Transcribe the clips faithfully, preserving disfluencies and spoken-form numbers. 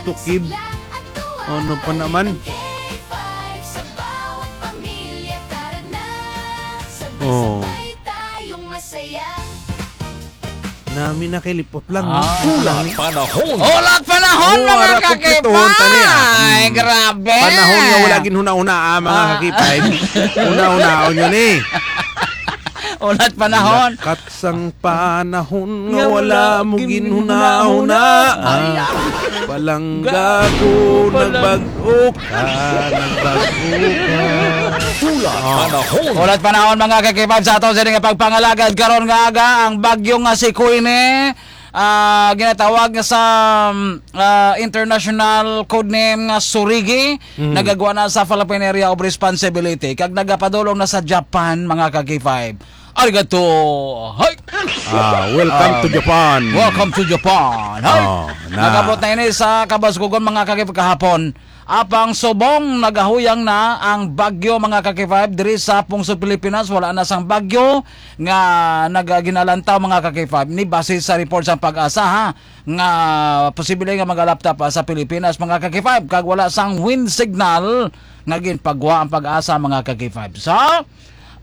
tukib. Ano pa naman? Oh. Nami na kay lipot lang, no? Ah. Kulang ni. Panahon. Ulat panahon, Oh, mga ara, kumpletuhon ta niya. kakipay! Mm. Grabe! Panahon nga wala ginhuna-huna, ah, mga Ah. kakipay. Huna-hunaon yun, eh. Ulat panahon. Lakat sang panahon nga Nga wala wala mo ginhuna-huna. ginhuna-huna. Ah. Ay, ah. Palangga ko, Palang- nagbag-o ka, nagbag-o ka. Ulat Oh. panahon. Ulat panahon, mga kakipay, sa aton sini nga pagpangalagad karon nga aga, ang bagyo nga si Queenie, ah, ginatawag nga sa, ah, international code name nga Surigi, Mm. nagagwa na sa Philippine Area of Responsibility kag nagapadulong na sa Japan, mga kakipay. Arigato. Hi. Ah, welcome to Um, Japan. Welcome to Japan. Hi. Oh, na. Nag-abot na ini sa kabaskugon, mga kakipay, kahapon. Apang subong nagahuyang na ang bagyo, mga kakipay, diri sa pungsod Pilipinas. Wala na sang bagyo nga nagaginalantaw, mga kakipay. Ni base sa report sa PAGASA, ha, nga posible nga magalapta pa sa Pilipinas, mga kakipay, kag wala sang wind signal nga ginpagwa ang PAGASA, mga kakipay. So,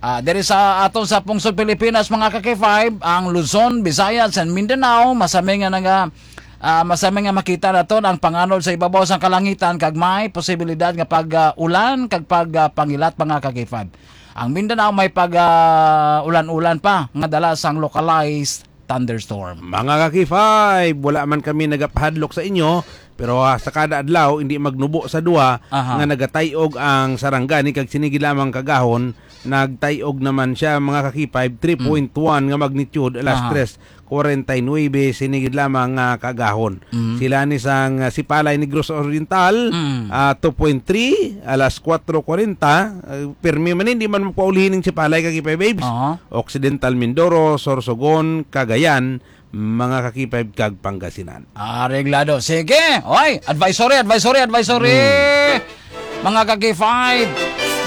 ah, diri sa aton sa pungsod Pilipinas, mga kakipay, ang Luzon, Visayas, and Mindanao, masami nga naga-, ah, masami nga makita naton ang panganod sa ibabaw sang kalangitan kag may posibilidad nga pag, ah, ulan kag pag, ah, pangilat, mga kakipay. Ang Mindanao may pag, ah, ulan-ulan pa nga dala sang localized thunderstorm. Mga ka-K five, wala man kami nagapahadlok sa inyo, pero, ah, sa kada adlaw, hindi magnubo sa duha Aha. nga nagatay-og ang sarangani kag sinigid lamang kagahon, nagtay-og naman siya, mga ka-K five, three point one nga magnitude, alas Aha. tres kwarenta y nuebe, sinigid lamang nga kagahon. Mhm. Sila ni sang, ah, Sipalay, Negros Oriental, Mm. ah, two point three, alas kwatro kwarenta, ah, pirmi man, hindi man mapaulihin ning Sipalay, ka-K five babes. Aha. Occidental Mindoro, Sorsogon, Cagayan, mga ka-K five kag Pangasinan. Areglado. Sige. Oy, advisory, advisory, advisory. Hmm. Mga ka-K five,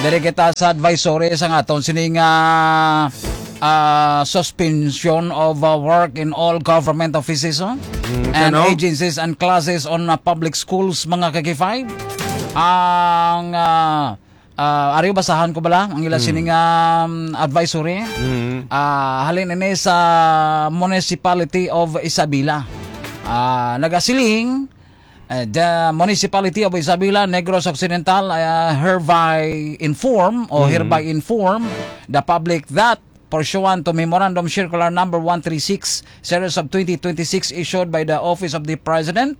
diri kita sa advisory sa aton sining, ah, ah, suspension of, ah, work in all government offices, oh? Hmm, And ano? agencies and classes on, ah, public schools, mga ka-K five. Ang, ah, Ah, ari, basahan ko bala ang ila Mm. sining, um, advisory. Mm. Ah, halin ini sa Municipality of Isabela. Ah, nagasiling, eh, the Municipality of Isabela, Negros Occidental, ah, hereby inform o Mm. hereby inform the public that pursuant to Memorandum Circular Number one three six, Series of twenty twenty-six, issued by the Office of the President,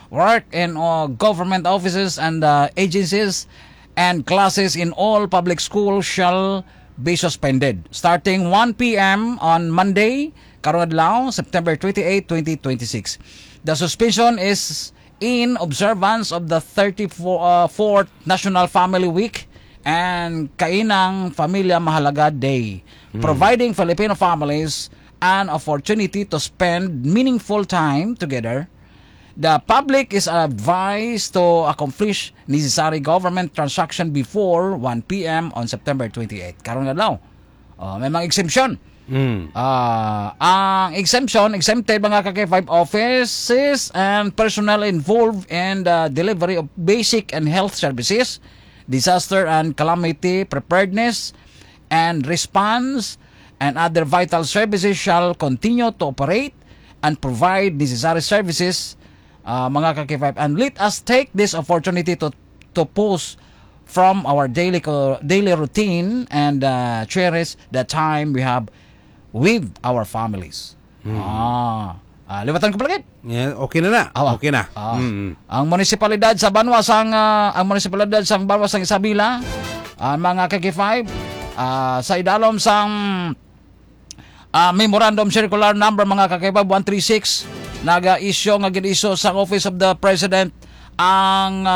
work in, uh, government offices and, uh, agencies and classes in all public schools shall be suspended starting one p m on Monday, karong adlaw, September twenty-eight, twenty twenty-six. The suspension is in observance of the thirty-four, uh, fourth National Family Week and Kainang Familia Mahalaga Day, Hmm. providing Filipino families an opportunity to spend meaningful time together. The public is advised to accomplish necessary government transaction before one p m on September twenty-eight. Karong adlaw. Oh, may mga exemption. Mm. Ah, ang exemption, exempted, mga ka-K five, offices and personnel involved in the delivery of basic and health services, disaster and calamity preparedness and response, and other vital services shall continue to operate and provide necessary services, ah, mga ka-K five. And let us take this opportunity to, to pause from our daily co-, daily routine and, ah, cherish the time we have with our families. Hmm. Ah. Ah, liwatan ko pala gid. Yeah, okay na na. Awa. Okay na. Ah. Mm. Ang munisipalidad sa banwa sang, ah, ang munisipalidad sang banwa sang Isabela, ah, mga ka-K five, ah, sa idalom sang, ah, Memorandum Circular Number, mga ka-K five, one three six, naga-issue nga gin-issue sang Office of the President ang, ah,